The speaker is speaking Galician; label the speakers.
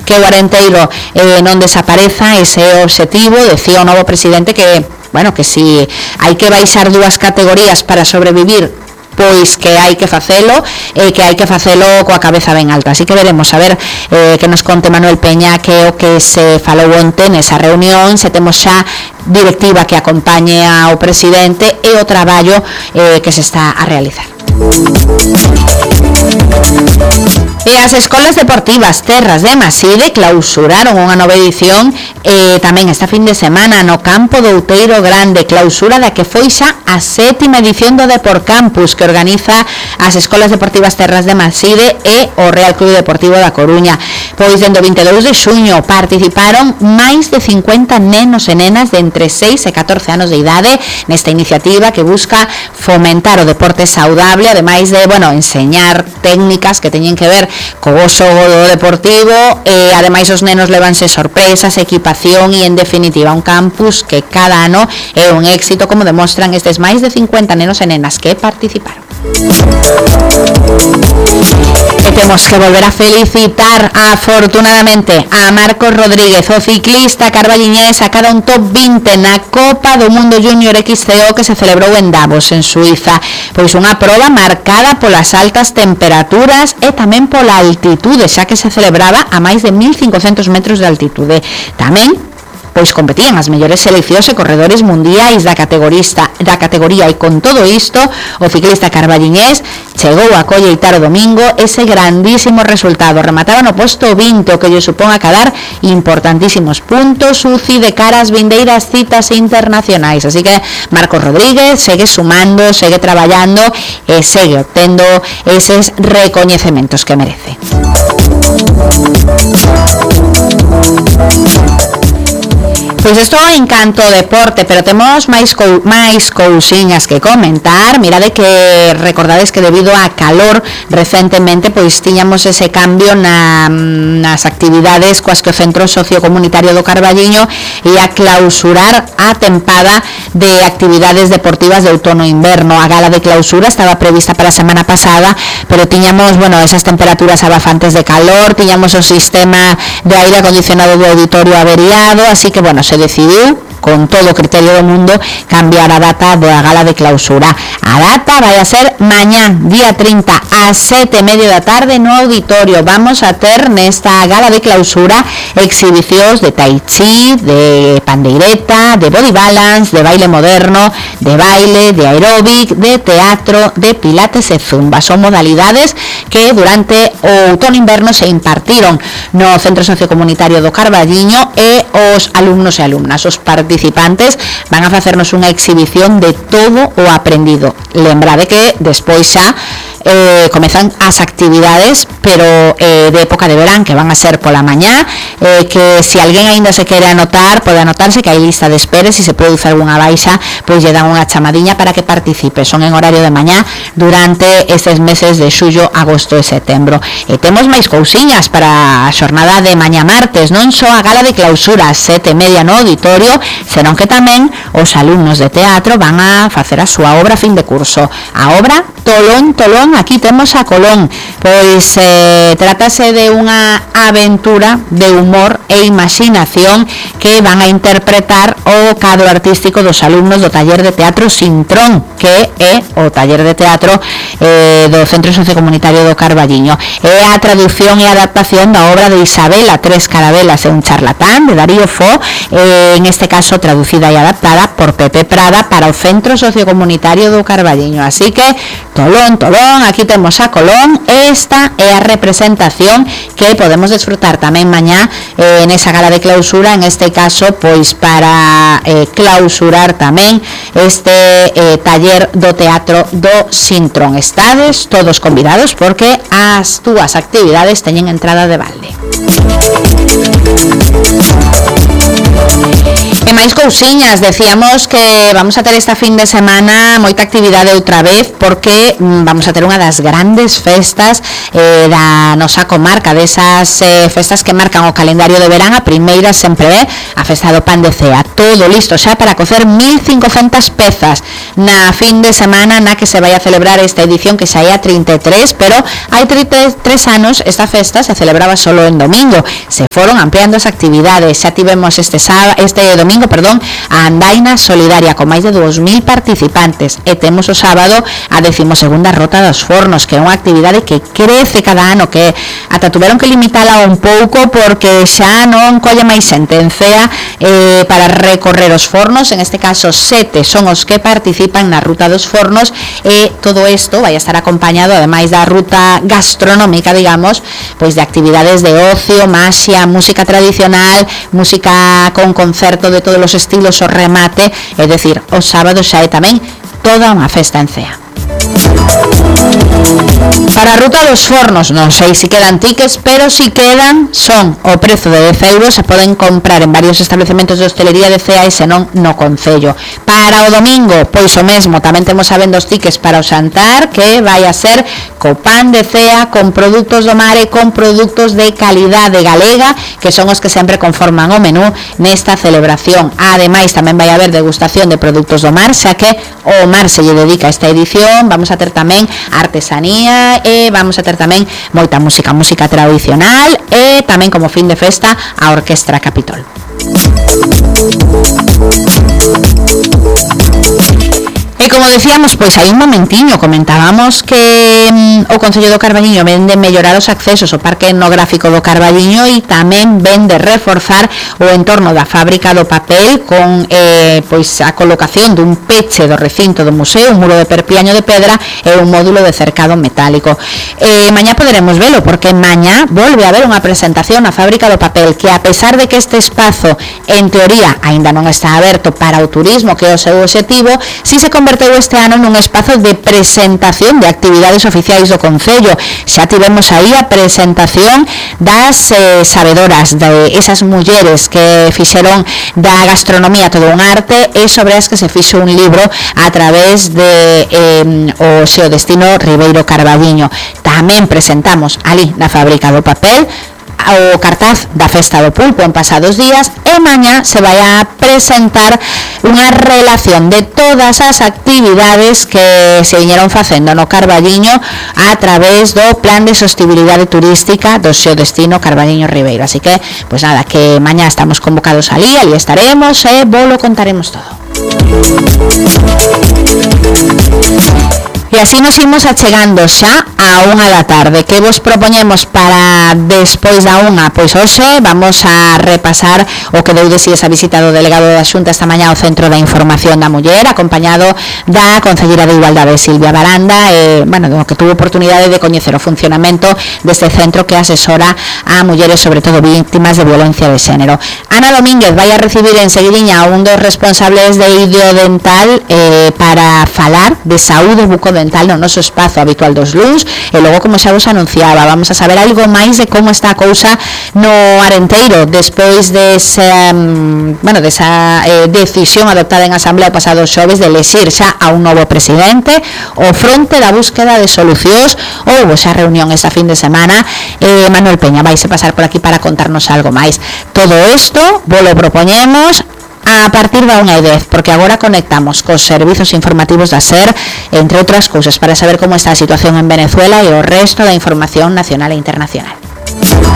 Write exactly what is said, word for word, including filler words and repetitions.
Speaker 1: que o Arenteiro eh, non desapareza. Ese é o obxectivo. Decía o novo presidente que, bueno, que si hai que baixar dúas categorías para sobrevivir, pois que hai que facelo, e eh, que hai que facelo coa cabeza ben alta. Así que veremos a ver eh, que nos conte Manuel Peña que é o que se falou onte nesa reunión, se temos xa directiva que acompañe ao presidente e o traballo eh, que se está a realizar. E as escolas deportivas Terras de Maside clausuraron unha nova edición e tamén esta fin de semana no campo do Outeiro Grande, clausura da que foi xa a sétima edición do Deport Campus que organiza as escolas deportivas Terras de Maside e o Real Club Deportivo da Coruña. Pois dende o vinte e dous de xuño participaron máis de cincuenta nenos e nenas de entre seis e catorce anos de idade nesta iniciativa que busca fomentar o deporte saudable, ademais de, bueno, enseñar técnicas que teñen que ver co gozo do deportivo, e ademais os nenos levanse sorpresas, equipación e en definitiva un campus que cada ano é un éxito, como demostran estes máis de cincuenta nenos e nenas que participaron. E temos que volver a felicitar afortunadamente a Marcos Rodríguez, o ciclista carballiñés, a cada un top vinte na Copa do Mundo Junior X C O que se celebrou en Davos, en Suiza. Pois unha proba marcada polas altas temperaturas e tamén pola altitude, xa que se celebraba a máis de mil cincocentos metros de altitude. Tamén pois competían as mellores seleccións e corredores mundiais da categorista da categoría, e con todo isto o ciclista carballiñés chegou a colleitar o domingo ese grandísimo resultado. Remataba no posto vinte, o que lle supón acadar importantísimos puntos U C I de cara ás vindeiras citas internacionais. Así que Marcos Rodríguez segue sumando, segue traballando e segue obtendo eses recoñecementos que merece. Pois isto en canto ao deporte, pero temos máis cou, máis cousiñas que comentar. Mirade que recordades que debido a calor recentemente pois tiñamos ese cambio na, nas actividades coas que o Centro Sociocomunitario do Carballiño ia clausurar a tempada de actividades deportivas de outono e inverno. A gala de clausura estaba prevista para a semana pasada, pero tiñamos, bueno, esas temperaturas abafantes de calor, tiñamos o sistema de aire acondicionado do auditorio averiado, así que, bueno, se decidiu con todo o criterio do mundo cambiar a data da gala de clausura. A data vai a ser mañá, día trinta, a sete e media da tarde no auditorio. Vamos a ter nesta gala de clausura exhibicións de tai chi, de pandeireta, de body balance, de baile moderno, de baile, de aeróbic, de teatro, de pilates e zumba. Son modalidades que durante o outono-inverno se impartiron no Centro Sociocomunitario do Carballiño, e os alumnos e alumnas, os participantes, van a facernos unha exhibición de todo o aprendido. Lembrade que despois xa eh, comezan as actividades, pero eh, de época de verán, que van a ser pola mañá, eh, que se alguén aínda se quere anotar, pode anotarse, que hai lista de espera, se se produce algunha baixa, pois lle dan unha chamadiña para que participe. Son en horario de mañá durante estes meses de xullo, agosto e setembro. E temos máis cousiñas para a xornada de mañá martes, non só a gala de clausura ás sete e media no auditorio, senón que tamén os alumnos de teatro van a facer a súa obra fin de curso. A obra Tolón, Tolón, aquí temos a Colón. Pois eh, trátase de unha aventura de humor e imaginación que van a interpretar o cadro artístico dos alumnos do taller de teatro Sintrón, que é o taller de teatro eh, do Centro Sociocomunitario do Carballiño. É a traducción e adaptación da obra de Isabela Tres Carabelas e un charlatán, de Darío Fo, eh, en este caso traducida e adaptada por Pepe Prada para o Centro Sociocomunitario do Carballiño. Así que Tolón, Tolón, aquí temos a Colón. Esta é a representación que podemos desfrutar tamén mañá eh, nesa gala de clausura, en este caso pois para eh, clausurar tamén este eh, taller do teatro do Sintrón. Estades todos convidados porque as túas actividades teñen entrada de balde. E máis cousiñas, decíamos que vamos a ter esta fin de semana moita actividade outra vez porque mm, vamos a ter unha das grandes festas eh, da nosa comarca, desas eh, festas que marcan o calendario de verán. A primeira sempre é a festa do pan de cea, todo listo xa para cocer mil cincocentas pezas na fin de semana na que se vai a celebrar esta edición que xa é a trinta e tres, pero hai trinta e tres anos esta festa se celebraba solo en domingo. Se foron ampliando as actividades, xa tivemos este sábado, este domingo perdón, a andaina solidaria con máis de dous mil participantes e temos o sábado a decimosegunda rota dos fornos, que é unha actividade que crece cada ano, que ata tuveron que limitala un pouco porque xa non colle máis xente en Cea eh, para recorrer os fornos. En este caso sete son os que participan na ruta dos fornos e todo isto vai a estar acompañado, ademais da ruta gastronómica, digamos, pois de actividades de ocio, maxia, música tradicional, música con concerto de todos os estilos, o remate, é dicir, o sábado xa é tamén toda unha festa en Cea. Para a ruta dos fornos non sei se quedan tickets, pero si quedan son o prezo de dez euros, se poden comprar en varios establecementos de hostelería de Cea e senón no concello. Para o domingo, pois o mesmo, tamén temos a venda os tickets para o xantar, que vai a ser co pan de Cea, con produtos do mar e con produtos de calidade galega, que son os que sempre conforman o menú nesta celebración. Ademais, tamén vai haber degustación de produtos do mar, xa que o mar se lle dedica a esta edición. Vamos a ter tamén artesanía e vamos a ter tamén moita música, música tradicional e tamén como fin de festa a Orquestra Capitol. E como decíamos, pois hai un momentiño comentábamos que mm, o Concello do Carballiño ven de mellorar os accesos ao Parque Etnográfico do Carballiño e tamén ven de reforzar o entorno da fábrica do papel con eh, pois a colocación dun peche do recinto do museo, un muro de perpiaño de pedra e un módulo de cercado metálico. Eh, mañá poderemos velo porque mañá volve a haber unha presentación na fábrica do papel que, a pesar de que este espazo en teoría aínda non está aberto para o turismo, que é o seu objetivo, si se converteu este ano nun espazo de presentación de actividades oficiais do Concello. Xa tivemos aí a presentación das eh, sabedoras, de esas mulleres que fixeron da gastronomía todo un arte e sobre as que se fixo un libro a través de eh, o seu destino Ribeiro Carballiño. Tamén presentamos ali na fábrica do papel o cartaz da Festa do Pulpo en pasados días e mañá se vai a presentar unha relación de todas as actividades que se viñeron facendo no Carballiño a través do Plan de Sostibilidade Turística do seu destino Carballiño Ribeiro. Así que, pois nada, que mañá estamos convocados ali, ali estaremos e vos lo contaremos todo. E así nos imos achegando xa a unha da tarde. Que vos propoñemos para despois da unha? Pois hoxe vamos a repasar o que deu de si esa visita do delegado da Xunta esta mañá ao Centro da Información da Muller, acompañado da Concelleira de Igualdade, Silvia Baranda, e, bueno, do que tuvo oportunidade de coñecer o funcionamento deste centro que asesora a mulleres, sobre todo víctimas de violencia de xénero. Ana Domínguez vai a recibir en seguidiña a un dos responsables de Idiodental eh, para falar de saúde bucodental no noso espazo habitual dos Luns e logo, como xa vos anunciaba, vamos a saber algo máis de como está a cousa no Arenteiro despois dese, um, bueno, desa eh, decisión adoptada en Asamblea o pasado xoves de elexir xa a un novo presidente. O fronte da búsqueda de solucións, houbo xa reunión esa fin de semana. eh, Manuel Peña vaise pasar por aquí para contarnos algo máis. Todo isto vos lo propoñemos a partir da unha e dez, porque agora conectamos cos servizos informativos da SER, entre outras cousas, para saber como está a situación en Venezuela e o resto da información nacional e internacional.